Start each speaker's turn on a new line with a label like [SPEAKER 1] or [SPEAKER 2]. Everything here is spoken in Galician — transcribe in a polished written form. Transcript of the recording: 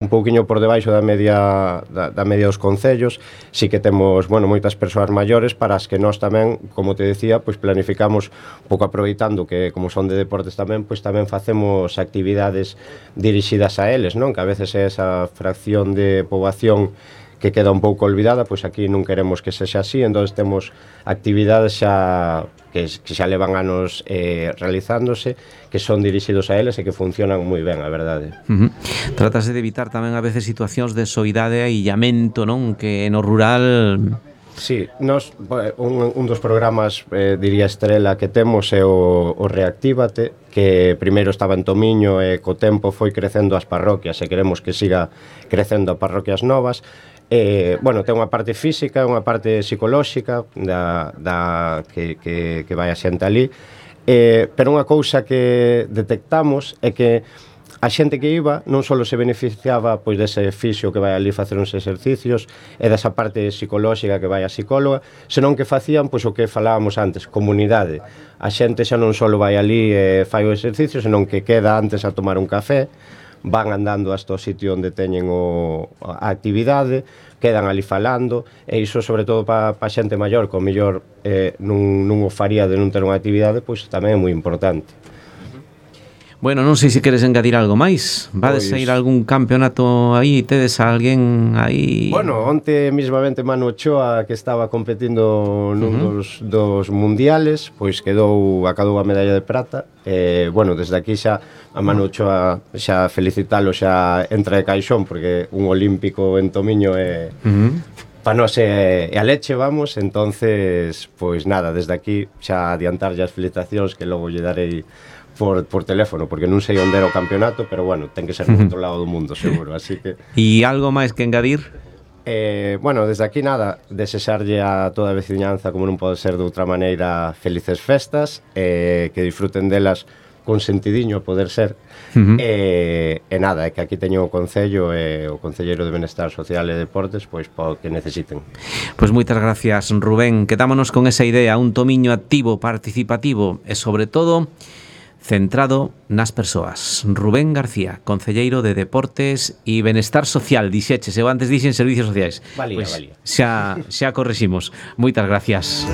[SPEAKER 1] un pouquiño por debaixo da media dos concellos. Sí que temos, bueno, moitas persoas maiores para as que nós tamén, como te decía, pois planificamos un pouco aproveitando que como son de deportes tamén, pois tamén facemos actividades dirixidas a eles, non? Que a veces é esa fracción de poboación que queda un pouco olvidada, pois aquí non queremos que sexa así, entonces temos actividades xa que xa levan anos realizándose, que son dirixidos a eles e que funcionan moi ben, a verdade.
[SPEAKER 2] Tratase de evitar tamén a veces situacións de soidade e illamento, non? Que no rural...
[SPEAKER 1] Sí, nos, un dos programas, diría estrela, que temos é o Reactívate, que primeiro estaba en Tomiño e co tempo foi crecendo as parroquias e queremos que siga crecendo a parroquias novas. Bueno, ten unha parte física, unha parte psicolóxica que vai a xente ali, pero unha cousa que detectamos é que a xente que iba non só se beneficiaba pois dese fisio que vai ali facer uns exercicios e desa parte psicolóxica que vai a psicóloga, senón que facían pois o que falábamos antes, comunidade. A xente xa non só vai ali e fai o exercicio, senón que queda antes a tomar un café, van andando hasta o sitio onde teñen a actividade, quedan ali falando, e iso sobre todo para a xente maior, que o mellor non o faría de non ter unha actividade, pois tamén é moi importante.
[SPEAKER 2] Bueno, non sei se queres engadir algo máis. Vades a ir a algún campeonato aí? Tedes a alguén aí?
[SPEAKER 1] Bueno, onte mismamente Manu Ochoa, que estaba competindo nun dos mundiales, pois acadou a medalla de prata. Bueno, desde aquí xa a Manu Ochoa xa felicitalo, xa entra de caixón, porque un olímpico en Tomiño é... para nós é a leche, vamos. Entonces, pois nada, desde aquí xa adiantarlle as felicitacións, que logo lle darei por teléfono, porque non sei onde era o campeonato, pero bueno, ten que ser no outro lado do mundo, seguro, así que...
[SPEAKER 2] E algo máis que engadir?
[SPEAKER 1] Bueno, desde aquí nada, desexarlle a toda a veciñanza, como non pode ser de outra maneira, felices festas, que disfruten delas con sentidiño, poder ser, e nada, é que aquí teño o Concello e o Concelleiro de Benestar Social e Deportes, pois para o que necesiten.
[SPEAKER 2] Pois moitas gracias, Rubén. Quedámonos con esa idea, un Tomiño activo, participativo e, sobre todo, centrado nas persoas. Rubén García, concelleiro de Deportes e Benestar Social, dixeches, eu antes dixen Servicios Sociais.
[SPEAKER 1] Valía.
[SPEAKER 2] Xa correximos. Moitas gracias.